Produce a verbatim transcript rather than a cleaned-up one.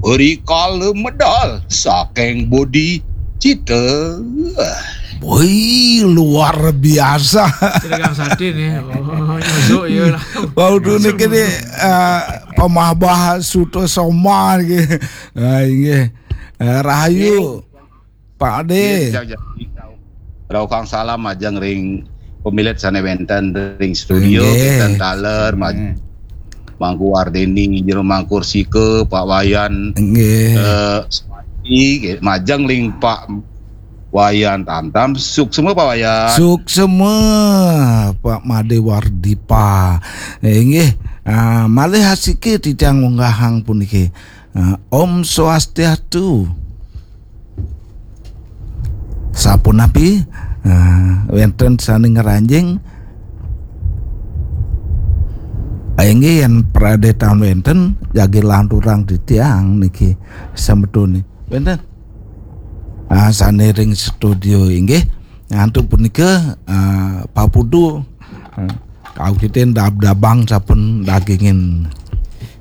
Rikala medal saking Bodi Cita. Woi, luar biasa. Dagang sate nih. Oh, nyusuk ya lah. Wau tu niki ni uh, pamahbah Suta Soma niki. Ah, inggih. Uh, rahayu Pak Ade. Rauh kang salam majeng ring pamilet sane wenten ring studio, wenten taler maj- Mangku Wardeni, Jero Mangku Sika, Pak Wayan, Nggih. Eh, Suwandi, nggih, majeng ling Pak Wayan Tamtam, suksma Pak Wayan. Suksma Pak Made Wardipa. Eh, inggih. Ah, malih asiki titiang ngunggahang puniki. Ah, Om Swastiastu. Sapunapi? Ah, wenten sane ngranjing? Ah, inggih, yen pradetan wenten, jagi lanturang titiang niki semetone. Wenten? Ah, sane ring studio inggih. Antuk punika, ah, papudu. Ah, kawitin dab-dabang sampun dagingin